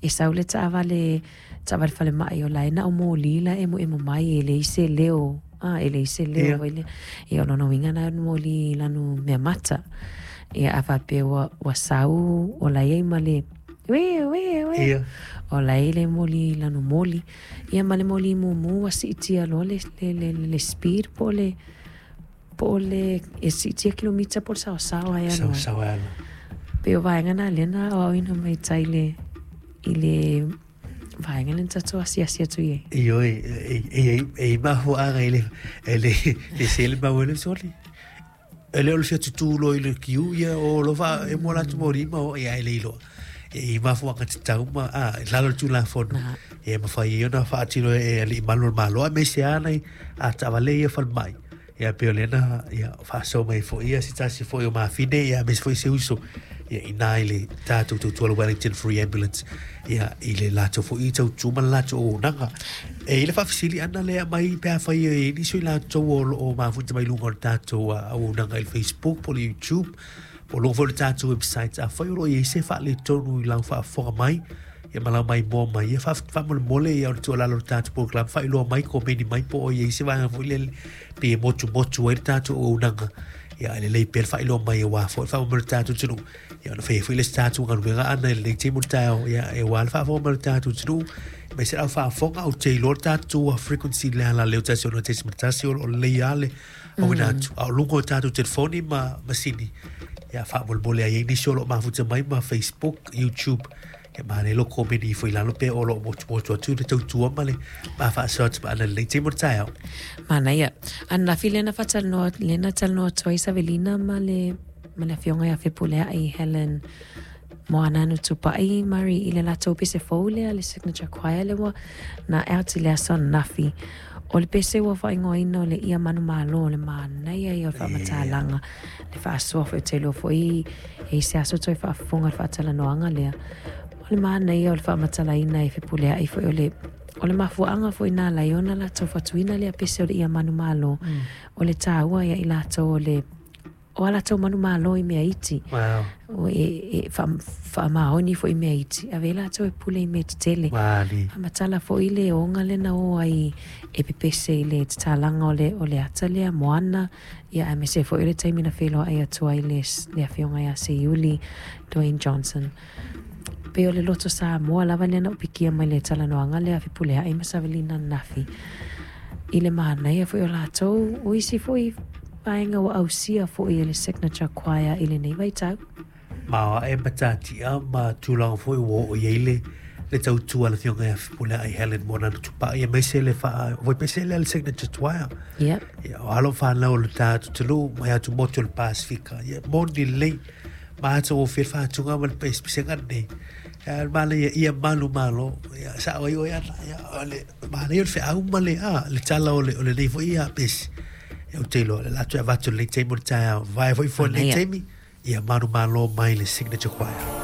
E sau le taavale, taavale falemai o la e na o moli la e emoemo mai e leai se leo, a e leai se leo foi lea. Ia o lona uiga na o ni moli i lanu meamata. Ia a faapea ua, ua sau o la e i ai ma le ue, ue, ue. O la e i le moli i lanu moli. Ia ma le moli mumu ua siitia loa le, le, le, le speed po o le, po o le e siitia kilomita po o le saosaoa e alu ai. Saosaoa e alu. Pei o vaega na lea na aoaoina mai tai i le, i le vaega lea na tatou asiasi atu i ai. Ioe, e, e, e, e i mafuaaga i le, e le, le sele mau e le soli. E le o le fia tutū loa i le kiu, ia o lo wha, e mua latu mō rima o, ia e le iloa. E i mafuaaga tatau ma, a, i lalo le Tulafono, e mawhai e ona whaatino e alii malu o le Malo, aemaise lava nai a taavale ia falemai. Ia pei o lea na ia faasoa mai foi ia se tasi foi o mafine ia aemaise foi se uso ia inā i le tatou tautua le Wellington Free Ambulance ia i le latou foi tautua ma le latou auaunaga. E i le faafesili ana lea aumai pe afai e i ai nisi o i latou o lo o mafuta mai luga o le tatou auaunaga i le Facebook po o le YouTube po o luga foi o le tatou website afai o lo o i ai se faaletonu i lau faafofoga mai ia ma lau maimoa mai ia faamolemole ia o le tuualalo o le tatou polokalame faailoa mai komeni mai po o i ai se vaega foi lele pei e motumotu ai le tatou auaunaga ia e lelei pea le faailoa mai aua foi le faamoemoe o le tatou atunuu ia ona fai ai foi le isi tatou galuega ana i lenei taimi o le taeao ia e aua le faafofoga mai o le tatou atunuu aemaise le au faafofoga ou te iloa le tatou frequency le ala leo 106.1 o lo o lelei lava le auina atu a o luga o tatou telefoni ma masini ia faamolemole ai ai nisi o lo o mafuta mai ma Facebook YouTube ia manaia lou komeni ifo i lalo pe o lo o motumotu atu le tautua ma le ma faasoa atu ma ana lelei taimi o le taeao. Manaia. Ananafi lea na faatalanoa, lea na talanoa atu ai Savelina ma le, ma le afioga ia Fepuleai Helen Moananu Tupai Murray i le latou pese fou lea, le Signature Choir lea ua na out i le aso ananafi. O le pese ua faaigoaina o le Ia Manumalo, o le manaia ia o le faamatalaga, le faasoa foi, ou te iloa foi e i ai se aso toe faafofoga i le faatalanoaga lea. O le manaia o le faamatalaina e Fepuleai foi o le, o le mafuaaga foi na ala ai ona latou fatuina lea pese o le Ia Manumalo, o le taua ia i latou o le o a latou manumalo i mea iti. Wow. O e, e faamaoni foi i mea iti. Ave ai latou e pule i mea tetele. Wali. Faamatala foi le oga lea na o ai e pepese i le tatalaga o le, o le ata lea, Moana, ia aemaise foi o le taimi na feiloai atu ai le, le afioga ia Seiuli, Dwayne Johnson. Pei o le loto Samoa lava lea na ou pikia mai le talanoaga lea a Fepuleai ma Savelina ananafi. I le manaia foi o latou, o isi foi vaega ua ausia foi e le Signature Choir i lenei vaitau. Ma ae matatia ma tulaga foi ua oo i ai le le tautua a le afioga ia Fepuleai Helen Moananu Tupai aemaise le faa foi pese lea le Signature Choir. Yep. Ia, o alo fanau o le tatou atunuu mai atumotu o le Pasefika. Ia, moni lelei. Matagofie le faatuga ma le pesepesega lenei. Ia, le manaia ia malu malo. Ia, sao ai oe ana. Ia, o le manaia o le feau ma le, a, le tala o le, o lenei foi ia pese. Ia, ou te iloa, o le a toe avatu i lenei taimi o le taeao. Vaea foi foi lenei taimi, ia malu malo mai le Signature Choir.